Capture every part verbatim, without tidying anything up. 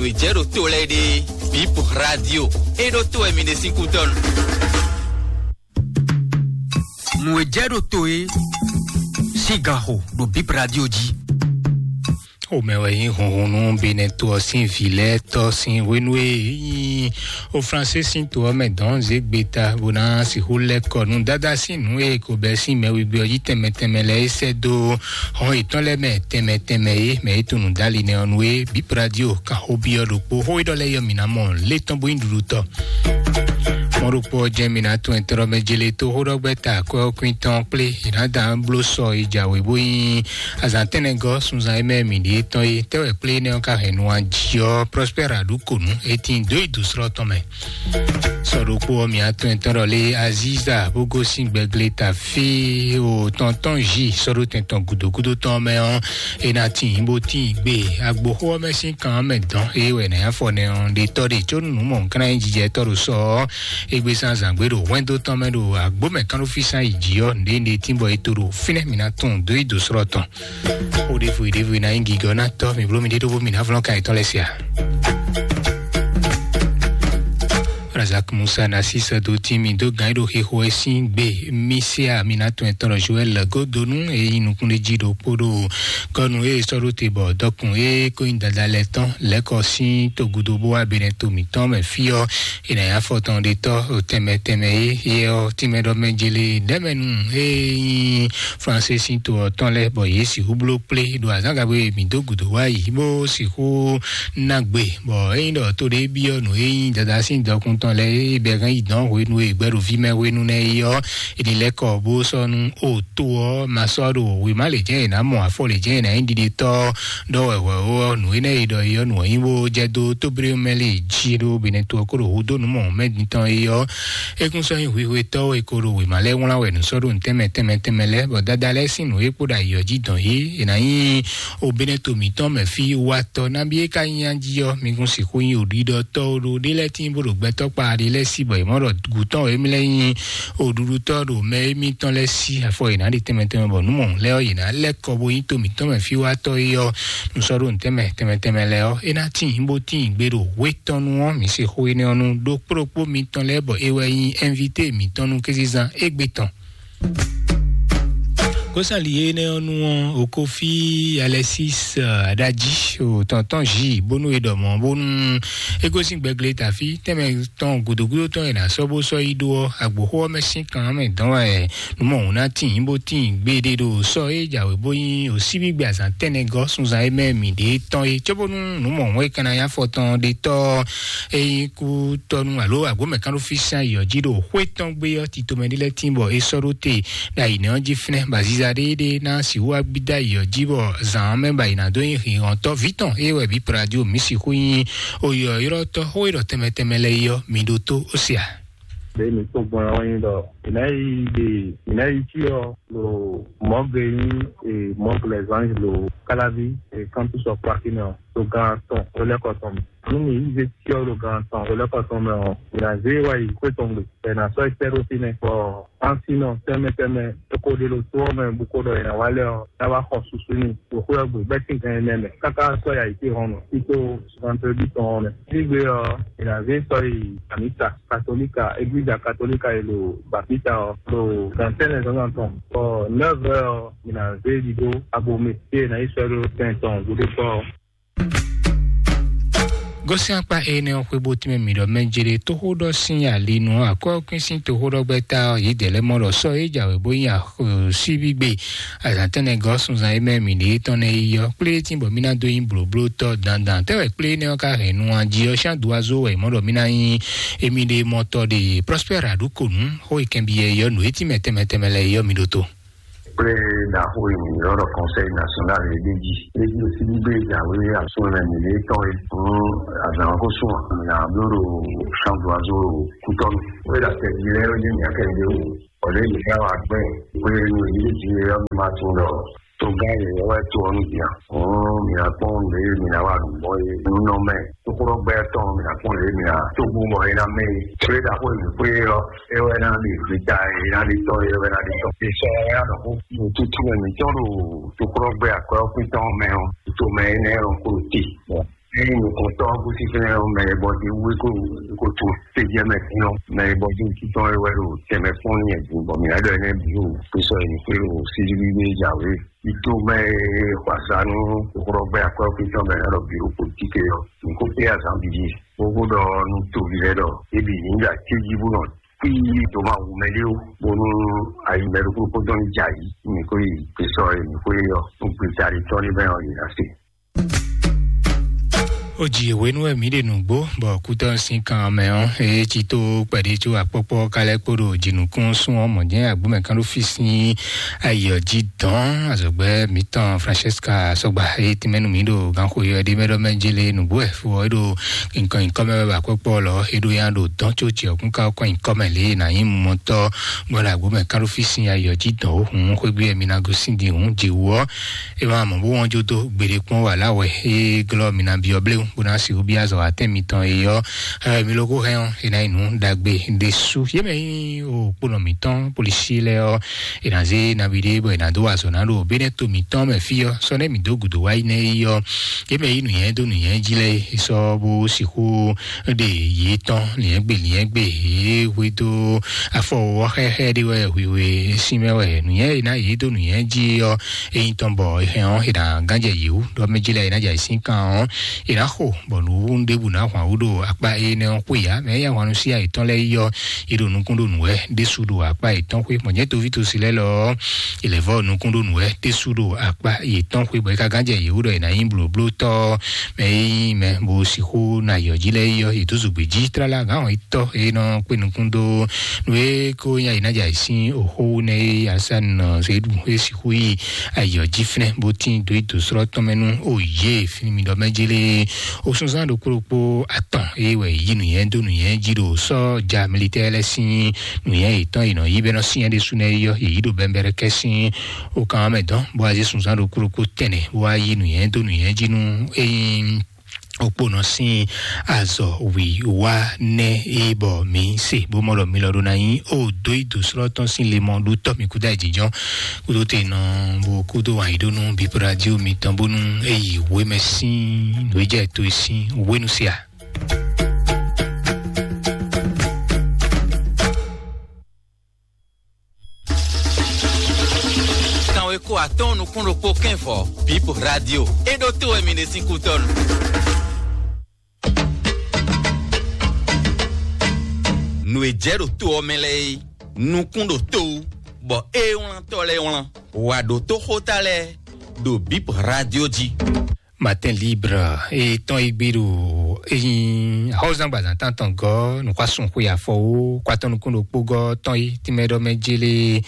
Nǔ e jɛ ɖo to lɛ́ɛ ɖe, Bip Radio, é ɖó to wɛ mi ɖe sín kútɔ́nu. Nǔ e jɛ ɖo to é sín ganxo ɖo Bip Radio jí. Xomɛ wɛ nyí hunhun nú Benɛto ɔ́ sín vǐ lɛ́ɛ tɔ́ sín hwenu e nyí o Fransé sín to ɔ́ mɛ dɔn zé gbeta bó ná sixú lɛ́ kɔ nú dada sín nǔ e ko bɛ́ sín mɛ wegbe ɔ́ jí tɛnmɛ tɛnmɛ lɛ́ɛ é sɛ́ dó xɔ́n yětɔn lɛ́ɛ mɛ tɛnmɛ tɛnmɛ é mɛ é tunú dali nɛ ɔ́ nú é. Bip Radio kan xó byɔ́ ɖokpó xó e ɖɔ lɛ́ɛ yɔ mǐ ná mɔ lé tɔn bó nyí ɖuɖutɔ́. Mɔ ɖokpó ɔ́ jɛ́n mǐ ná tún ɛtɛ́ mɛ jélé tó xó ɖɔ gbɛ́ ta akwɛ́ ɔ́ kwín tɔn kplé è nǎ dán bló sɔ e jǎwe bó nyí azǎn tɛ́nnɛgɔ́ sunzan e mɛ mǐ ɖíe tɔn é. Tɛ́ wɛ kplé énɛ́ ɔ́ ka hɛn nu jí ɔ́, Prospère Aɖukonu e tín dó yi dǒ slɔ́ tɔn mɛ. Sɔ ɖokpó ɔ́, mǐ atɔn ɛtɔn ɖɔ lé Aziza bó gosín gbɛglé ta fí o tɔntɔn jí sɔ́ ɖó tɛn tɔn gǔdo gúdo tɔn mɛ ɔ́, é ná tín bó tín gbe agboxó ɔ́ mɛ sín kan ɔ́ mɛ dɔn. É wɛ nɛ̌ afɔ nɛ ɔ́ ɖe tɔ́ ɖe có nǔ mɔ nǔ kan ná nyí jijɛ tɔ́ ɖo sɔ ɔ́, é gbé sín azǎn gbé ɖo hwɛndo tɔn mɛ ɖo agbó mɛ kán ɖó fí sín ayi jí ɔ́, nǔɖé nǔɖé tín bɔ é to ɖo fínɛ́ mǐ ná tunwun dó yi dǒ slɔ́ tɔn. Xó ɖěvo yi ɖěvo yi ná nyí gigɔ ná tɔ́, mǐ bló mì ɖé ɖó bó mǐ ná vlɔ́n ka yětɔn lɛ́ɛ sia. Razak Musa na sísɛ dó tín mì dó gǎn e ɖo xixo wɛ sín gbe mì se a mì ná tɔn ɛtɔn ɖɔ Joel Godonu e nyí nukúnɖéjí ɖokpó ɖo kɔnu e sɔ́ ɖó te bɔ dɔkun e ko nyí dada lɛ́ɛ tɔn lɛ́kɔ sín togudo bó wá benɛ to mǐtɔn mɛ fí ɔ́, è nǎ nyí afɔtɔn ɖe tɔ́ tɛnmɛ tɛnmɛ e yɛ ɔ́ tínmɛ ɖɔ mɛ jele ɖɛmɛnu e nyí Fransé sín to ɔ́ tɔn lɛ́ɛ bɔ yě sixú bló kplé ɖo azǎngagbe mǐ dó gǔdo wá yi bó sixú ná gbe, bɔ ényí ɖɔ to ɖé byɔ́ nǔ e nyí dada sín dɔkun tɔn lɛ́ɛ é bɛ́ hɛn yi dɔn hwenu e gbɛɖoví mɛ hwenu nɛ́ é ɔ́, è nǐ lɛ́ kɔ bó sɔ́ nú o to ɔ́ ma sɔ́ ɖo wěma lě jɛ́n è nǎ mɔ afɔ lě jɛ́n è nǎ nyí ɖiɖetɔ́ ɖɔ wɛ hwɛ̌ ó ɔ́, nǔ énɛ́ e ɖɔ é ɔ́, nǔ ɔ́ nyí bó jɛ dó tóblémɛ lě jí ɖó Benɛto ɔ́ kó ɖo hudó nǔ mɔ mɛ mitɔn é ɔ́, é kún sɔ́ nyí hwihwetɔ́ e ko ɖo wěma lɛ́ɛ wlán wɛ nǔ sɔ́ ɖo nǔ tɛnmɛ tɛnmɛ tɛnmɛ lɛ́ɛ, bɔ dada lɛ́ɛ sín nǔ e kpo ɖo ayǐ ɔ́ jí dɔn yě, è nǎ nyí o Benɛto mǐtɔn mɛ fí watɔ nabí é ka nyí a jí ɔ́, mi kún sixú nyí oɖiɖɔtɔ́ ɖo ɖé lɛ́ɛ tíin bó ɖo gbɛtɔ́ kpa ɖé lɛ́ɛ sí bɔ è mɔ ɖɔ gǔtɔn e mlɛ́ nyí oɖuɖutɔ́ ɖo mɛ émítɔn lɛ́ɛ sí afɔ yě ná ɖe tɛnmɛ tɛnmɛ bɔ nǔ mɔ̌ lɛ́ɛ ɔ́, yě ná lɛ́ kɔ bó nyí to mǐtɔn mɛ fí watɔ é ɔ́, nǔ sɔ́ ɖo nǔ tɛnmɛ tɛnmɛ tɛnmɛ lɛ́ɛ ɔ́, é ná tíin bó tíin gbe ɖo hwetɔ́nu ɔ́, mǐ se xó énɛ́ ɔ́ nú ɖokpó ɖokpó mitɔn lɛ́ɛ bɔ é wɛ nyí ɛnvité mǐtɔn nú kézezán égbé tɔn. Gosali énɛ́ ɔ́ nú ɔ́, Okofi Alexis Adaji o tɔntɔn Zi bónú e ɖɔ mɔ̌ bónú é gosín gbɛglé tafí tɛnmɛ tɔn gǔdógúdó tɔn e nǎ sɔ́ bó sɔ́ yi ɖó ɔ́, agboxó ɔ́ mɛ sín kan mɛ dɔn wɛ nǔ mɔ̌hun ná tíin bó tíin gbeɖé ɖo sɔ́ e jǎwe bó nyí osíbígbe azǎn tɛnɛgɔ́ sunzan e mɛ mǐ ɖe tɔn é, cóbónú nǔ mɔ̌hun e kan ná nyí afɔ tɔn ɖe tɔ́ é nyí kútɔ́nú alo agbǒmɛkánɖófísán yɔ̌ jí ɖo xwé tɔn gbé ɔ́, titomɛ ɖé lɛ́ɛ tíin bɔ é sɔ́ ɖó te ɖo ayǐ nɛ́ ɔ́ jí fínɛ́, bɔ aziza ɖéeɖée ná sixú wá gbídó ayǐ ɔ́ jí, bɔ zǎn ɔ́ mɛ bɔ ayǐ ná dó nyí hǐnhɔ́ntɔ́ vǐ tɔn é wɛ bǐ Pradio mǐ sixú nyí oyɔ̌yrɔ́tɔ́ xó e ɖɔ tɛnmɛ tɛnmɛ lɛ́ɛ é ɔ́, mi ɖótó ó se a? Ɖě mi kpɔ́n gbɔn ɔ́ nyí ɖɔ mǐ ná yi ɖe mǐ ná yi cyɔ ɖo mɔ̌gbe nyí e mɔ̌gbe lɛzange ɖo Káláví e kántúsɔ Kwakínɔ ɖo gán tɔn ɖo lɛ́kɔ tɔn mɛ. Nú mǐ yi zé cyɔ ɖo gán tɔn ɖo lɛ́kɔ tɔn mɛ ɔ́, mǐ ná zé wá yi xwé tɔn gbe, bɔ è nǎ sɔ́ yi sɛ́ ɖó fínɛ́, bɔ Asin ɔ́, tɛnmɛ tɛnmɛ, é ko ɖe ɖo to ɔ́ mɛ bó ko ɖɔ è nǎ wá lɛ́ ɔ́, ná wá xɔ susu n'i ɖo xwé ɔ́ gbe bɛ́ sín gan ɛnɛ mɛ, káká sɔ́ yi ayǐtéhɔ̌nnu tító vendredi tɔn ɔ́ mɛ. Sígbe ɔ́, è nǎ zé sɔ́ yi amǐsa katolíka, eglíza katolíka e ɖo Bapita ɔ́, ɖo gan tɛ́nnɛ zǎnzǎn tɔn, bɔ nɛ́vɛ ɔ́, è nǎ zé ɖiɖó abomɛ, fí e è nǎ yi sɔ́ ɖó tɛn tɔn gúdo kpɔ́ ɔ́. Gosín akpá énɛ́ ɔ́ xwé bó tínmɛ mǐ ɖɔ mɛ jere tóxóɖɔ sín alinu ɔ́, akwɛ́ ɔ́ kwín sín toxóɖɔgbɛ́ta ɔ́, yě dɛ̌ lɛ́ mɔ ɖɔ sɔ́ é jǎwe bó nyí axɔsíbígbe azǎntɛ́nɛgɔ́ sunzan e mɛ mǐ ɖe tɔn nɛ́ yi ɔ́, kplé tín bɔ mí ná dó nyí blǒblótɔ́ dandan. Tɛ́ wɛ kplé énɛ́ ɔ́ ka hɛn nu a jí ɔ́, sín aduazo wɛ mɔ ɖɔ mí ná nyí émí ɖe mɔtɔ ɖe Prospère Aɖukonu xó e kɛnbi yɛ yɔ nǔ e tínmɛ tɛnmɛ tɛnmɛ lɛ́ɛ yɔ mi ɖótó. Kple ɖaxó e mǐ ylɔ́ ɖɔ Conseil National e ɖ'é jí. É jí osí ní gbé jǎwe asúnlɛ́mɛ mǐɖée tɔn e hǔn azǎn ɔ́ ko sú ǎ. Mǐ ná bló ɖo Champ d'Oiseau ɖo Kútɔ́nu. Wé ɖo atɛ jí lɛ́ɛ wé ní mǐ akɛ́ ɖé wú. Bɔ ɖěe mǐ ká wa gbɛ́ xwé nú yě jí é ɔ́, mǐ ma tunwun ɖɔ togán yěyɔ́ wɛ to ɔ́ nú din a? Hǔn mǐ ná kpɔ́n nǔ e mǐ ná wa ɖu mɔ̌ é nú nɔ mɛ. Tókúɖɔgbɛ́ tɔn mǐ ná kpɔ́n lě mǐ ná tó bú bɔ é ná mɛ yi. Xwé ɖaxó e mǐ xwé ɔ́, é wɛ ná ɖe vita, é ná ɖe tɔ́, é wɛ ná ɖe tɔ́. È sɔ ɛ ná ɖɔ xó. Nǔtútú wɛ mǐtɔn ɖo tókúɖɔgbɛ́ akwɛ́ ɔ́ kpín tɔn mɛ ɔ́, to mɛ énɛ́ ɔ́ kó te. Eye nukɔntɔ́ gosín fɛnɛ ɔ́, mɛ e bɔ dé wú é ko ko tún sejɛ mɛ fínɔ, mɛ e bɔ dé wú títɔn é wɛ ɖo tɛmɛ fún ní ɛdín bɔ mǐ ná ɖɔ énɛ́ bǐ ɖo xwésɔ e mǐ xwé ɖo sísí gbígbé jǎwe. Tito mɛ e xɔ azǎn nú xɔxɔgbɛ akwɛ́ xwé tɔn mɛ ná ɖɔ bǐ ɖo politíki ɔ́, mǐ ko kplé azǎn bǐ ɖíe. Xóxó ɖɔ nú toví lɛ́ɛ ɖɔ é bǐ ní ɖo acéjí bó nɔ kpí dǒ ma wu mɛ ɖé ó, bónú ayi mɛ ɖokpó kpódó ní jɛ ayǐ, mǐ ko yi gbesɔ e mǐ xwé ɔ́, nú gbeta ɖé tɔn ní mɛ ɔ́, yě ná se. Ó ji hwenu wɛ mǐ ɖe nǔgbó, bɔ kútɔ́ sín kan mɛ ɔ́, é cí tó kpɛɖé có akpɔ́kpɔ́ ka lɛ́ kpo ɖo jǐnukúnsin ɔ́ mɔ̌ jɛ́n agbǒmɛ kán ɖó fí sín ayǐ ɔ́ jí dɔn. Azɔ̌gbɛ́ mǐtɔn Francesca Sɔgba, é tínmɛ nú mǐ ɖo gǎnxó yɔ ɖé mɛ ɖɔ mɛ jélé nǔgbó wɛ fó ɔ́, é ɖo nǹkan nyǐkɔ mɛ wɛ bɔ akpɔ́kpɔ́ lɔ é ɖó yá ɖo dɔn có jɛ ɔ́ kún ká kɔn nyǐkɔ mɛ lě e nǎ nyí mɔtɔ́ gbɔn ɖo agbǒmɛ kán ɖó fí sín ayǐ ɔ́ jí dɔn ó hǔn xwégbé wɛ mi ná gosín din hǔn jǐ wú ɔ́. É ma mɔ bó wɔn jó dó gbeɖé kpɔ́n wà lá wɛ é glɔ́ mi ná byɔ́ bléwún bó ná sixú byɔ́ azɔ̌ atɛ́n mitɔn é ɔ́. Ɛ, mi ló kó hɛn ɔ́, é ná nyí nǔ ɖagbe ɖésú. Yě mɛ nyí o kponɔ mǐtɔn polisí lɛ́ɛ ɔ́, è nǎ zé nabí ɖé bɔ è nǎ dó wa azɔ̌ ná ɖo Benɛ́to mǐtɔn mɛ fí ɔ́, sɔ́ nɛ́ mǐ dó gǔdo wá yi nɛ́ é ɔ́, yě mɛ yí nǔnywɛ́ dó nǔnywɛ́ jí lɛ́ɛ é sɔ́ bó sixú ɖe yě tɔn liɛ̌ngbé liɛ̌ngbé yě hwedó afɔ ɔ́ xɛxɛ ɖé wɛ hwihwe sín mɛ wɛ nǔnywɛ́ e ná yě dó nǔnywɛ́ jí ɔ́, é nyí tɔn bɔ è hɛn ɔ́, è nǎ gánjɛ yě wú ɖɔ mɛ jí lɛ́ɛ è nǎ jɛ ayǐ sín kan ɔ́, è nǎ xo bɔ nǔ ɖěbǔ ná hwan wú ɖo akpá énɛ́ ɔ́ xwé ǎ. Mɛ e yí ahwan nú sí ayǐ tɔn lɛ́ɛ yi ɔ́, è ɖo nukún ɖo nǔ wɛ ɖésú ɖo akpá yětɔn xwé. Mɔ̌ jɛ́n toví tosi lɛ́ɛ lɔ ɔ́, è lɛ̌ vɔ́ nukún ɖó nǔ wɛ ɖésú ɖo akpá yětɔn xwé, bɔ é ka gán jɛ yě wú ɖɔ è nǎ nyí blǒblótɔ́ mɛ e nyí mɛ bó sixú ná yɔ jí lɛ́ɛ yi ɔ́, yě dó zogbe jí tlala gǎn ɔ́ tɔ́ e nɔ kpé nukún dó nú é kó nya yi ná jɛ ayǐ sín oxó nɛ e Asan Zedu e sixú yi ayɔ jí fínɛ́ bó tín dó yi dǒ slɔ́ tɔn mɛ nú o yě fínmidɔ mɛ jélé. Osunzán ɖokpó ɖokpó atɔn e wɛ yí nǔnyɛ dó nǔnyɛ jí ɖo sɔ́ja militɛ́ lɛ́ɛ sín nǔnyɛ yětɔn yi nɔ yí bɛ́ nɔ syɛ́n ɖésú nɛ́ yɔ yě yí ɖo bɛ́nbɛ́rɛ́ kɛ́ sín o kan mɛ dɔn bó wá zé sunzán ɖokpó ɖokpó tɛnɛ bó wá yí nǔnyɛ dó nǔnyɛ jí nú ényí okponɔ sín azɔ wǐwá nɛ́ é bɔ mǐ se bó mɔ ɖɔ mi lɔ ɖó ná nyí o dó yi dǒ slɔ́ tɔn sín le mɔ ɖó tɔ́ mi kúdó ayǐjínjɔ́n kúdó te nɔ bó kúdó wǎn yí ɖó nú bíbí radio mitɔn bónú é yi wěmɛ sín nǔ e jɛ to e sín wénu se a. Kanwe ko atɔ́ɔ́n nukún ɖokpó kɛ́n vɔ̌, Bip Radio. É ɖó to wɛ mi ɖe sín kútɔ́nu. Nǔ e jɛ ɖo to ɔ́ mɛ lɛ́ɛ é, nukún ɖo to wú, bɔ é wlántɔ́ lɛ́ɛ wlán. Wǎ ɖó tó xóta lɛ́ɛ ɖo Bip Radio jí. Matin Libre e tɔn yi gbe ɖo eyin ahɔzan gbazan tantɔn gɔ nukwasun xwe afɔwo kwatɔn nukun ɖokpo gɔ tɔn yi tìmɛ ɖɔ mɛ jele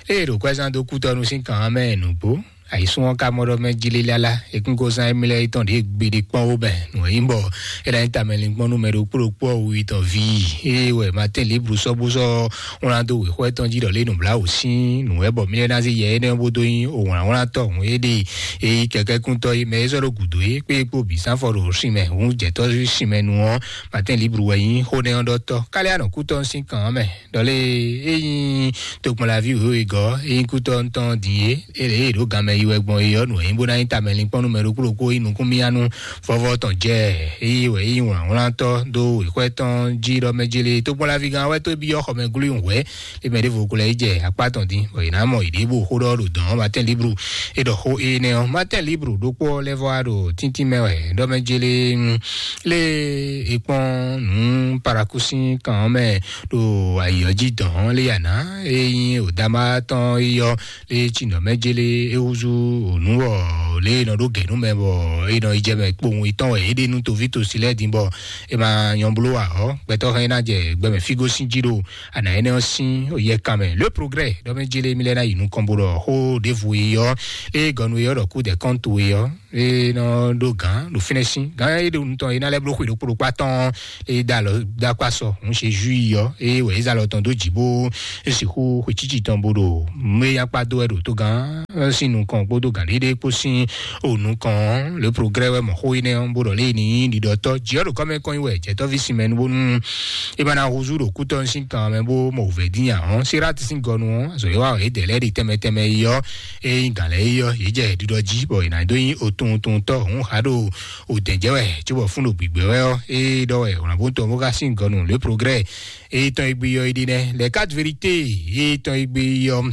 eye ɖo kwɛzan dó kútɔnu sín kan mɛ nǔgbó. Àyísún ɔ́ ka mɔ ɖɔ mɛ jele lala ekúngozán émí lɛ́ɛ tɔn ɖě gbeɖe kpɔ́n wó bɛ nǔ e nyí bɔ é ná nyí tamɛlinkpɔ́n nú mɛ ɖokpó ɖokpó ɔ́ wuwi tɔn ví. Eye wɛ Matin Libre sɔ́ bó sɔ́ wlán dó wěxɔ tɔn jí ɖɔ lě nǔbláwǔ sín nǔ wɛ bɔ mí lɛ́ ná zé yɛ énɛ́ bó dó nyí òwlǎnwlántɔ́ hǔn é ɖe èyí kɛkɛ́kúntɔ́ é mɛ é sɔ́ ɖo gǔdo é kpé kpó bǐ sánfɔ ɖo sin mɛ hǔn jɛ̌tɔ́ sin mɛ nu ɔ́. Matin Libre wɛ nyí xó nɛ́ ɔ́ ɖɔtɔ́ káliá nɔ kútɔ́ sín kan ɔ́ mɛ ɖɔ lé é nyí tokpɔnlaví wěwe gɔ́ é nyí kútɔ́ ntɔn din é é lě é ɖǒ ganmɛ yi wɛ gbɔn é ɔ́ nǔ é nyí bó ná nyí tamɛlinkpɔ́n nú mɛ ɖokpó ɖokpó é nyí nukúnmíyá nú vɔ́vɔ́ tɔn jɛ é yi wɛ é nyí wlǎnwlántɔ́ dó wěxwɛ́ tɔn jí ɖɔ mɛ jélé tokpɔnlavígán wɛ tó byɔ́ xɔmɛ glú hwɛ̌ é mɛ ɖěvo ko lɛ́ yi jɛ akpá tɔn dín bɔ yě ná mɔ yě ɖěbǔ xó ɖɔ ɖo dɔ̌n ɔ́. Matin Libre é ɖɔ xó énɛ́ ɔ́. Matin Libre ɖokpó ɔ́ lɛ́ vɔ wá ɖo tíntín mɛ wɛ ɖɔ mɛ jélé lé é kpɔ́n nǔ parakúsín kan ɔ́ mɛ ɖo ayǐ ɔ́ jí dɔ̌n lé yǎ ná é nyí òdámá tɔn é yɔ lé tsinɔ mɛ jélé é húzú ònú wɔ lé é nɔ ɖó gɛ̌ nú mɛ bɔ é nɔ yi jɛ mɛ kpowun yětɔn wɛ é ɖe nú toví tosi lɛ́ɛ din bɔ é ma nyɔ bló ǎ ɔ́, gbɛtɔ́ hɛn é ná jɛ gbɛmɛ fígó sín jí ɖo ana énɛ́ ɔ́ sín yɛkan mɛ. Le progrès ɖɔ mɛ jélé mi lɛ́ ná yi nukɔn bó ɖɔ xó ɖěvo e ɔ́ é gɔnu e ɔ́ ɖɔ kú dɛ kɔ́ntu e ɔ́ é nɔ ɖó gǎn ɖo fínɛ́ sín gǎn é ɖo nutɔn é ná lɛ́ bló xwe ɖokpó ɖokpó atɔ́n é dá alɔ dá akpá sɔ ń ṣe ju yi ɔ́ é wɛ é zá alɔ tɔn dó jǐ bó é sixú xwe cíci tɔn bó ɖo mú é nyakpá dó wɛ ɖo tó gǎn sín nukɔn. kpódó gǎnɖéɖé kpó sín o nukɔn. Le progrès wɛ mɔ xó énɛ́ ɔ́ bó ɖɔ lé ní ɖiɖɔtɔ́ jǐ ɔ́ ɖo kɔ́mɛ kɔn nyi wɛ jɛtɔ́ví sin mɛ nu bónú é ma ná húzú ɖo kútɔ́ sín kan mɛ bó mɔ wǔvɛ́ dín nya ɔ́. Sérat sín gɔnu ɔ́, azɔ̌ e wa wɛ é dɛ lɛ́ ɖi tɛnmɛ tɛnmɛ yi ɔ́, é nyí gǎn lɛ́ɛ yi ɔ́, yě jɛ ɖiɖɔ jí bɔ è nǎ dó nyí otuntun tɔ́ hǔn há ɖo òdɛ̌jɛ́ wɛ cóbɔ fún ɖo gbǐgbɛ́ wɛ ɔ́, é ɖɔ wɛ wlǎnbótɔn bó ká sín gɔnu le progrès é tɔn e gbé yɔ é ɖi nɛ́. Les quatre vérités é tɔn e gbé yɔ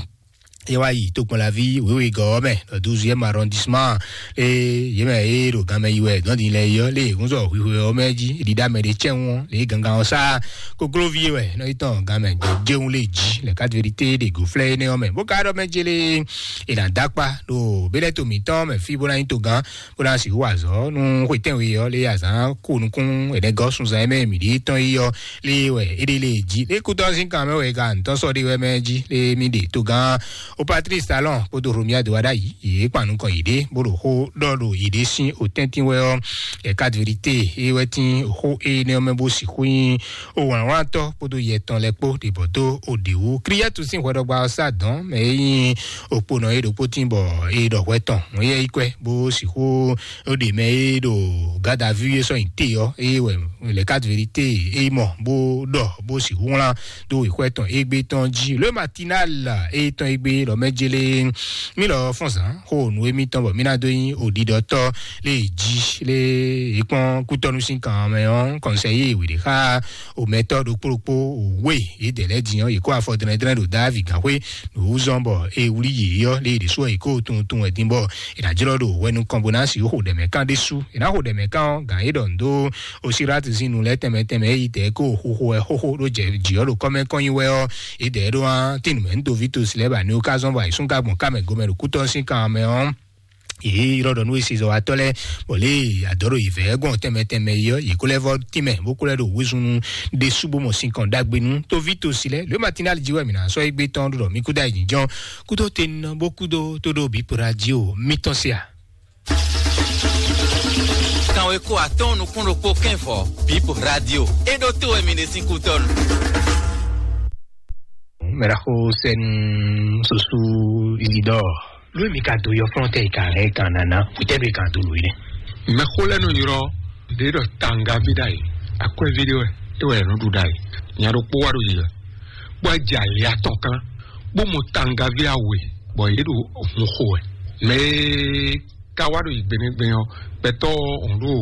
é wá yi tokpɔnlaví wěwegɔ́ ɔ́ mɛ, le douzième arrondissement. Ée yě mɛ e ɖo ganmɛ yi wɛ dɔn din lɛ yi ɔ́, lé hunzɔ hwihwe ɔ́ mɛ jí ɖiɖa mɛ ɖé cɛ́n ɔ́, lé gangan ɔ́ sá kokloví wɛ nɔ yi tɔn ganmɛ jɛun lé jí. Les quatre vérités ɖe go flɛ́ énɛ́ ɔ́ mɛ bó ka ɖɔ mɛ jélé è nǎ dó akpa ɖo bélɛ́to mǐtɔn mɛ fí bó ná nyí togán bó ná sixú wa azɔ̌ nú xwetɛ́nwe ɔ́ lé azǎn ko nukún ɛnɛgɔ́ sunzan e mɛ mǐ ɖi tɔn yi ɔ́ lé wɛ é ɖe lé jí lé kútɔ́ sín kan mɛ wɛ ka ntɔ́ sɔ́ ɖé wɛ mɛ jí lé mí ɖe togán o Patrice Talon kpódó Romuald Wadagni yě kpan nukɔn yěɖée bó ɖo xó ɖɔ ɖo yěɖée sín otɛ́ntin wɛ ɔ́. Les quatre vérités é wɛ tín xó énɛ́ ɔ́ mɛ bó sixú nyí owlǎnwlántɔ́ kpódó yɛ tɔn lɛ́ɛ kpó ɖě bɔ dó òɖě wú. Kíríyɛ́tu sín hwɛɖɔgba ɔ́ sá dɔ̌n mɛ e nyí òkponɔ é ɖokpó tín bɔ é ɖɔ hwɛ tɔn. Wọ́n yɛ yi kwɛ bó sixú ó ɖe mɛ e ɖo garde à vue é sɔ́ nyi te ɔ́, é wɛ les quatre vérités é mɔ bó ɖɔ bó sixú wlán dó wěxwɛ tɔn égbé tɔn jí. Le Matinal é tɔn égbé lɔ mɛ jélé mí lɔ fɔ́n zǎn xó nǔ émítɔn bɔ mí ná dó nyí òɖiɖɔtɔ́ lé jí lé é kpɔ́n kútɔ́nú sín kan mɛ ɔ́ kɔnsɛyí wěɖé xá omɛtɔ́ ɖokpó ɖokpó òwe yě dɛ lɛ́ din ɔ́, yě kó afɔ dlɛ́ndlɛ́n ɖo Davi gǎnxwé ɖo wú zɔ́n bɔ é wlí yě ɔ́, lé yě ɖésú ɔ́, yě kó tunwun tunwun wɛ din bɔ è nǎ jlɔ́ ɖo hwɛ nukɔn bó ná sixú xo ɖɛ̌mɛ kán ɖésú. È nǎ xo ɖɛ̌mɛ kán ɔ́, gǎn é ɖɔ nǔ dó Osirati sín nu lɛ́ɛ tɛnmɛ tɛnmɛ é yi tɛ̌ kó xóxó wɛ xóxó ɖó jɛ jǐ ɔ́ ɖo kɔ́mɛ kɔn nyi wɛ ɔ́, é dɛ̌ ɖó án tín nǔmɛ nú Dovítosi lɛ́ɛ ba ní ó ká zɔ́n bɔ ayǐsúngagbo ká mɛ gomɛ ɖo kútɔ́ sín kan mɛ ɔ́. Yě ylɔ́ ɖɔ nú esezɔwatɔ́ lɛ́ɛ bɔ lě e adɔ̌ ɖo yě vɛ́ gbɔn tɛnmɛ tɛnmɛ yi ɔ́, yě kó lɛ́ vɔ́ tínmɛ bó kó lɛ́ ɖo wezun nu ɖésú bó mɔ sin kɔn ɖagbe nú Tovítosí lɛ́ɛ. Lě Matinali jí wɛ mǐ ná sɔ́ égbé tɔn ɖo ɖɔ mí kúdó ayǐjínjɔ́n kúdó tenɔ bó kúdó tó ɖó bǐ radio mítɔn se a? Kanweko atɔ́ɔ́n nukún ɖokpó kɛ́nvɔ bǐ radio é ɖó tó wɛ mǐ ɖe sín kútɔ́nu. Mɛɖaxó sɛnu soso Isidore. Ló mi ka do yɔ fɔlɔntɛ yi ka hɛn kan nana kutɛ do yi kan do lo yi nɛ. Mɛxó lɛ nɔ yrɔ ɖe ɖɔ tangavi ɖa yi akwɛvi ɖe wɛ e wɛ nɔ ɖu ɖa yi nya ɖokpó wa ɖo yi wɛ bó jɛ ali atɔn kan bó mɔ tangavi awe bɔ yě ɖo hun xo wɛ mɛ ka wa ɖo yi gbenegbene ɔ gbɛtɔ ɔn ɖo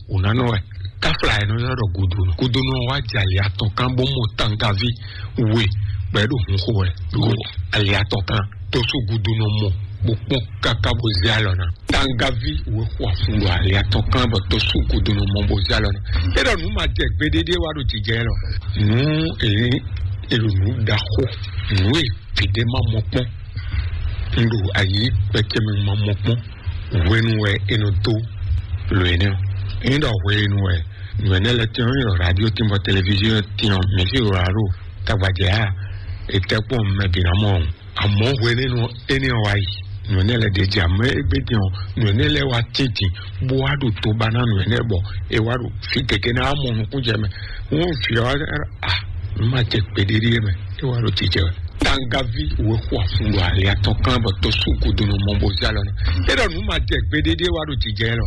wò nanɔ wɛ. Kafla yɛ nɔ ylɔ ɖɔ gudonu gudonu ɔ wa jɛ ali atɔn kan bó mɔ tangavi we bɔ yě ɖo hun xo wɛ ɖo ali atɔn kan. Tosu gudonu mɔ bó kpɔn kaka bó zé alɔ ná. Tangavi we xɔ afun ɖo ali atɔn kan bɔ tosu gudonu mɔ bó zé alɔ ná. É ɖɔ nǔ ma jɛ gbeɖéɖé wa ɖo jijɛ lɔ. Nǔ èyí elo nǔ ɖaxó nǔ e fìdé ma mɔ kpɔn. Un ɖo ayi kpɛkɛ mi ma mɔ kpɔn. Hwenu wɛ e nɔ dó lo énɛ́ ɔ́. Ényí ɖɔ hwenu wɛ nǔ énɛ́ lɛ́ɛ tɛ́n ɔ́, ényí ɖɔ radio tɛ́n bɔ televiziɔn tɛ́n ɔ́, mɛ̌ fí wǒ wá ɖo tagbajɛ á, è tɛ́ kpɔ́n mɛ bǐ ná mɔ ɔ́. Amɔ̌ hwenu énɛ́ ɔ́, énɛ́ ɔ́ wá yi, nǔ énɛ́ lɛ́ɛ ɖě jɛ amɔ̌ égbé din ɔ́, nǔ énɛ́ lɛ́ɛ wá tíntin bó wá ɖo to ba ná nǔ énɛ́ bɔ è wá ɖo fí gěgé ná wá mɔ nukúnjɛ mɛ. Wọ́n fi ɔ́, a nǔ ma jɛ kpeɖéɖé mɛ, é wá ɖo jijɛ wɛ. Tangavi wɛ xɔ afun ɖo ali atɔn kan bɔ tɔsú gudunu mɔ bó zé alɔ ná. É ɖɔ nǔ ma jɛ gbeɖéɖé wá ɖo jijɛ lɔ.